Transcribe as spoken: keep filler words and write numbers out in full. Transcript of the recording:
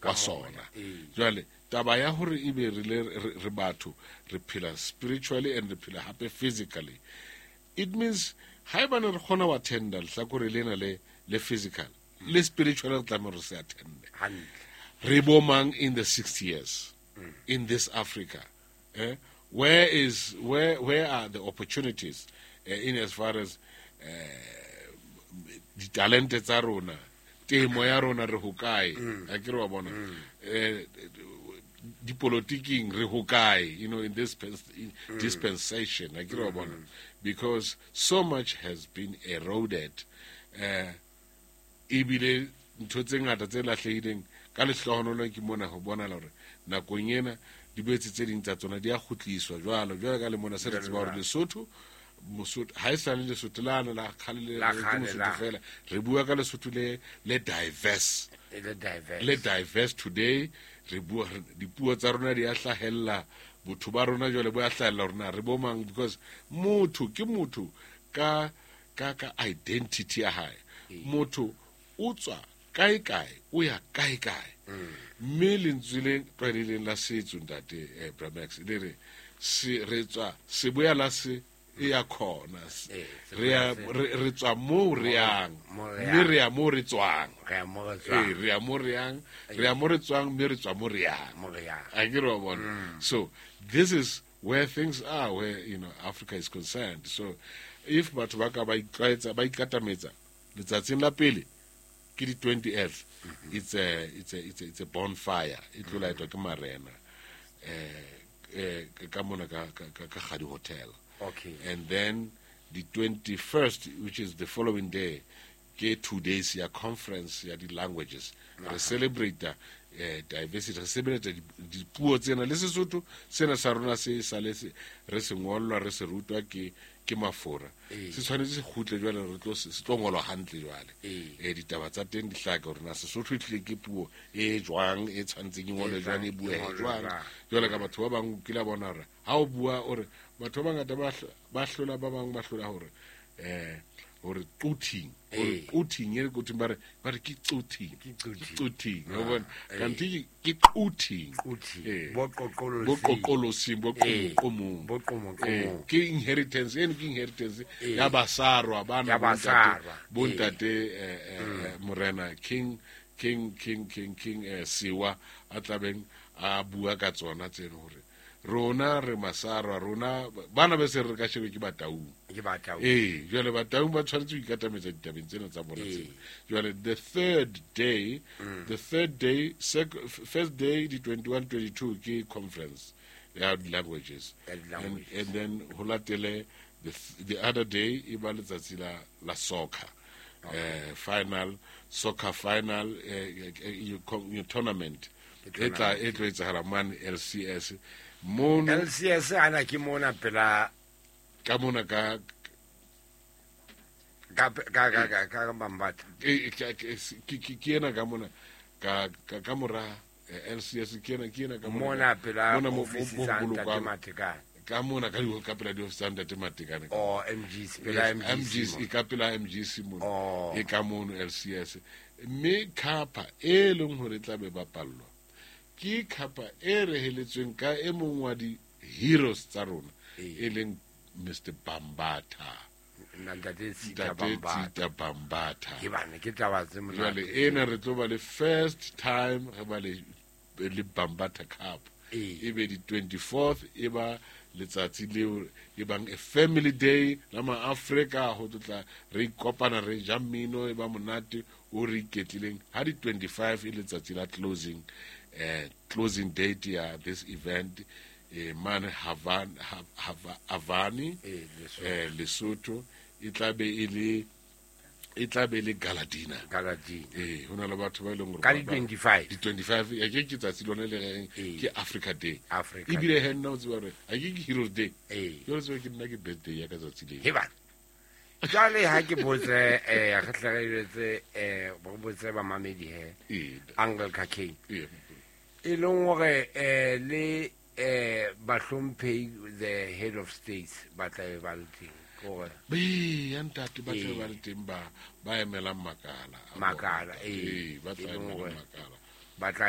wa sona. Jwale taba ya hore ebe re le re batho re phela spiritually and re phela hape physically, it means haebane re kgona ho attenda lehlakore lena le le physical le spiritual, re tlameha re se attende. Re bo mang in the sixty years mm. in this Africa? Eh? Where is where where are the opportunities uh, in as far as ditalente tsa rona, temo ya rona re hokae, a ke re wa bona, eh dipolotiking re hokae, you know, in this in dispensation, a ke re wa bona, because so much has been eroded. Eh ebile ntho tse ngata tse lahlehileng ka lehlohonolo ke mona ho bona hore nakong ena di boetse tse ding tsa tsona di a kgutliswa jwalo jwalo ka le mona se re tseba hore Lesotho Mosotho ha e sale Lesotho lana la kgale le Mosotho fela, re bua ka Lesotho le le diverse, le diverse, le diverse today. Re bua dipuo tsa rona di a hlahella, botho ba rona jwale bo a hlahella rona re bo mang, because motho ke motho ka ka ka identity ya hae. Motho o tswa kae kae o ya kae kae, mme lentswe le tlwaelehileng la setso ntate eh, Bramax le re se re tswa seboya la se e ya khona, re ya re tswa mo re yang mme re ya mo re tswang, re re ya mo re yang, re ya mo re tswang mme re tswa mo re yang. A ke re wa bona. So this is where things are, where you know Africa is concerned. So if batho ba ka ba itlwaetsa ba ikatametsa letsatsing la pele ke di twentieth, it's a it's a it's a it's a bonfire e tlo laetwa ke marena eh eh ka mona ka ka ka Kgadi Hotel. Okay. And then the twenty-first, which is the following day, ke two days ya conference ya di languages. Re celebrate uh, diversity, re celebrate dipuo tsena le Sesotho sena sa rona se sale se re se ngollwa re se rutwa ke ke mafora. Se tshwanetse se kgutle jwale re tlo se tlo ngolwa hantle jwale. Eh ditaba tsa teng di hlaka hore na Sesotho e tlile ke puo e jwang, e tshwanetseng e ngolwe jwang, e bue jwang. Jwale ka batho ba bang kila bona hore ha o bua o re batho ba bangata ba ba hlola ba bang ba hlola hore eh hore quthing, hore quthing e quthing ba re ba re ke quthing, ke quthing, wa bona, kanti ke quthing, bo qoqolosi, bo qoqolosi, bo qomo, bo qomo, ke inheritance eno, ke inheritance ya basarwa bana bo ntate morena King King King King King Siwa a tlabeng a bua ka tsona tseno hore rona re masarwa, rona bana be se re ka shebe ke Bataung, ke Bataung, eh jwale Bataung ba tshwanetse ho ikatametsa ditabeng tsena tsa bona tsena. Jwale the third day, the third day, first day di twenty-one twenty-two ke conference ya languages, and, and then ho latele the the other day e ba letsatsi la la soccer, eh final soccer final eh, you, you tournament e tla e tlo etsahala mane L C S mono. L C S ana ke mona pela ka mona ka ka ka ka ka Bambatha, ke ke ena ka mona ka ka mora L C S ke ena ke ena ka mona pela office tsa Ntate Matekane, ka mona ka di ka pela di office tsa Ntate Matekane, oh M G C pela M G C ka pela M G C mono e ka mono L C S. Mme khapa e leng hore tla be bapallwa ke khapa e reheletsweng ka e mong wa di heroes tsa rona e leng Mister Bambatha, Ntate Tsita Bambatha, Bambatha. Ke bana ke taba tse monate. Jwale ena re tlo ba le first time re ba le le Bambatha Cup, e be di twenty-fourth e ba letsatsi leo e bang a family day la ma Africa ho tla re ikopana re ja mmino e ba monate o re iketlileng. Ha di twenty-five e letsatsi la closing, eh closing date ya this event eh mane Havana Havani eh Lesotho e tla be e le e tla be le Galadina, Galadina eh hona le batho ba ileng hore ka di twenty-five di twenty-five ya ke ke tsatsi lona le reng ke Africa Day, Africa e bile he nna o tseba hore a ke ke Heroes Day, eh jwale tseba ke nna ke birthday ya ka tsatsi le he bana. Jwale ha ke botse eh re tle re jwetse eh bo botse ba mamedi he Uncle Khakeng e leng hore eh le eh bahlomphehi the head of states ba tla be ba le teng gore be ya ntate ba tla ba le teng ba ba emelang makala makala eh ba tla emelang makala ba tla